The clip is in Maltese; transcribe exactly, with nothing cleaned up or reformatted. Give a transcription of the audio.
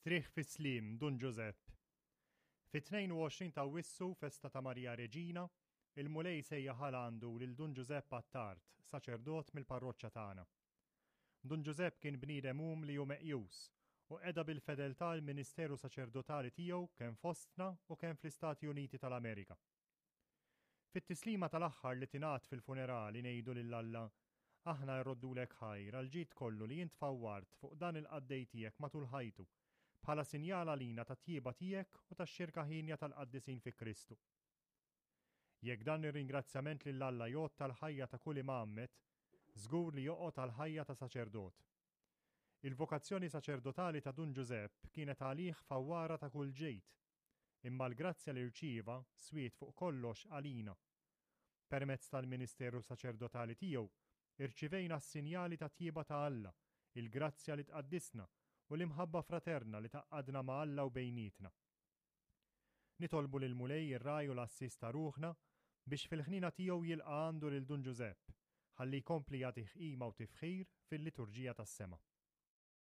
Strieħ fis-sliem, Dun Ġużepp. Fit-tnejn u għoxrin ta' Awwissu, festa ta' Marija Reġina, il-Mulej sejjaħ għal għandu lil Dun Ġużepp Attard, saċerdot mill-parroċċa tagħna. Dun Ġużepp kien bniedem umli u meqjus u qeda bil-fedeltà l-ministeru saċerdotali tiegħu kemm fostna u kemm fl-Istati Uniti tal-Amerika. Fit-tislima tal-aħħar li tingħad fil-funerali ngħidu lil Alla, aħna rroddulek ħajr għal ġid kollu li int fawwart fuq dan il-qaddej tiegħek matul ħajtu, bħala sinjal għalina tat-tjieba tiegħek u tax-xirka ħienja tal-qaddisin fi Kristu. Jekk dan ir-ringrazzjament lil Alla jgħodd tal-ħajja ta' kull imgħammed, żgur li joqgħod għall-ħajja ta' saċerdot. Il-vokazzjoni saċerdotali ta' Dun Ġużepp kienet għalih fawwara ta' kull ġid, imma l-grazzja li rċieva swiet fuq kollox għalina. Permezz tal-ministeru saċerdotali tiegħu, irċivejna s-sinjali ta' tjieba ta' Alla, il-grazzja li tqaddisna u l-imħabba fraterna li tgħaqqadna ma' Alla u bejnietna. Nitolbu lil Mulej ir-ragħaj u l-għassies ta' ruħna biex fil-ħniena tiegħu jilqa' għandu lil Dun Ġużepp, ħalli jkompli jagħtih qima u tifħir fil-liturġija tas-sema.